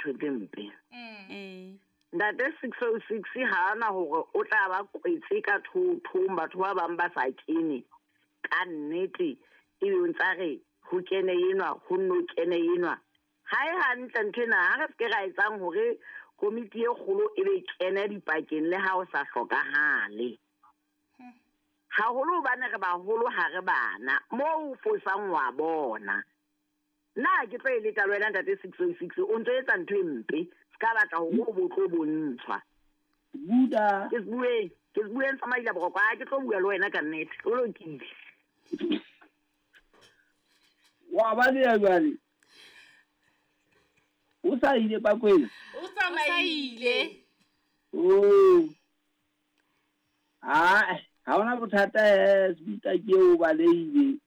ntho tse mpe. Ee. Ntate 606 ha ana hore o tla ba kwetse ka thothong batho ba bang ba sa kene. Ka nnete ebe o ntsa re ho kene enwa ho nno kene enwa. Ha e hantle ntho ena ha re se ke ra etsang hore komiti e kgolo e be kene dipakeng le ha o sa hlokahale. Haholo hobane re baholo ha re bana moo o fosang wa bona. Nna ke tlo e leka le wena ntate 606 o ntso etsa ntho e mpe se ka batla hore o bo tlo bontshwa. Buda. Ke se bueng, ke se bueng sa maila boroko ha ke tlo bua le wena ka nnete. O lokile. Wa baleha jwale. O sa ile Bakwena? O tsamaile. Oh. Ah, ha hona bothata eh Sbuta ke o balehile.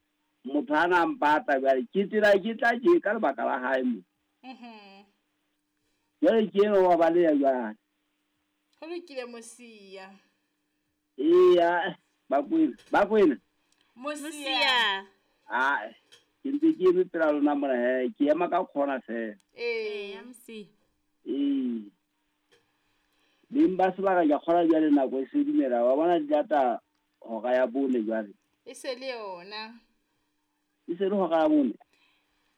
Motho a na mpata jwale ke tsela ke tla ke ka lebaka la hae mo. Jwale ke eno wa baleha jwale. Ho lokile Mosia. Eya, Bakwena, Bakwena. Mosia. Ah, ke ntse ke eme pela lona mona he, ke ema ka khona fela. Ee. Eya Mosia. Ee. Beng ba sebaka ke a kgolwa jwale nako e se dumela wa bona di lata hora ya bone jwale. E se le yona. E se le hora ya bone.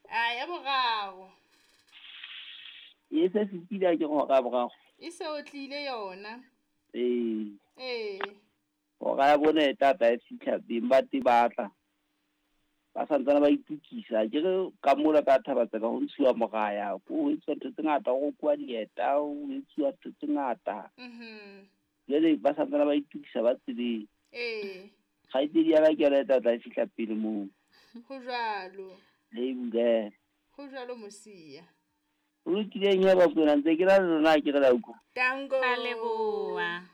A ya boraro. E se fetile ha ke re hora ya boraro. E se o tlile yona. Ee. Ee. Hora ya bone e tla tla e fihla beng ba teng ba tla. Ba santsane ba itukisa ke re ka mola ka Thabatseka ho ntshuwa moraya ko ho etsuwa ntho tse ngata ho rokuwa dieta ho etsuwa ntho tse ngata. Jwale ba santsane ba itukisa ba tseleng. Ee. Kgaitsedi ya ka ke yona e tla tla e fihla pele moo. Ho jwalo. Le e bulela. Ho jwalo Mosia. Ho lokileng he Bakwena ntse ke na le lona ha ke re la utlwa. Tango. Ra leboha.